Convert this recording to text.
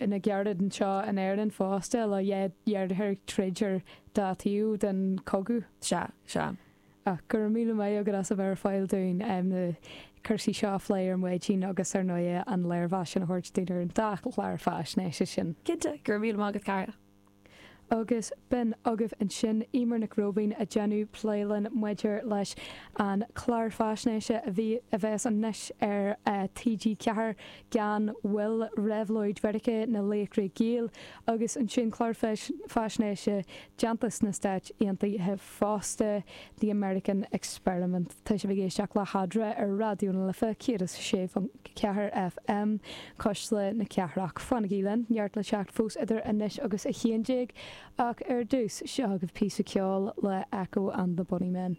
na Gardaí anseo in Éirinn fosta le dhá dheartháir ag troid ar dá taobh den chogadh. Sea, sea. Ach go raibh míle maith agat as a bheith ar fáil dúinn na cúrsaí seo a phlé ar maidin agus ar ndóigh an léirmheas sin a thabhairt dúinn ar an dá chlár faisnéise sin. Cinnte, go raibh míle maith agat Cara. Agus b'in agaibh ansin Eimear Nic Róibín ag déanamh plé linn maidir leis an chlár faisnéise a bhí, a bheas anois ar TG4, Gan Mhoill, Réabhlóid Mheiriceá na Laochra Gael agus ansin clár faisnéise déanta sna Stáit Aontaithe fosta, The American Experiment. Tá sibh ag éisteacht le hEadra ar Raidió na Life 106.4 FM, Cuisle na Cathrach. Fanaigí linn, neart le teacht fós idir anois agus 11, ach ar dtús, seo agaibh píosa ceoil le Echo and the Bunnymen.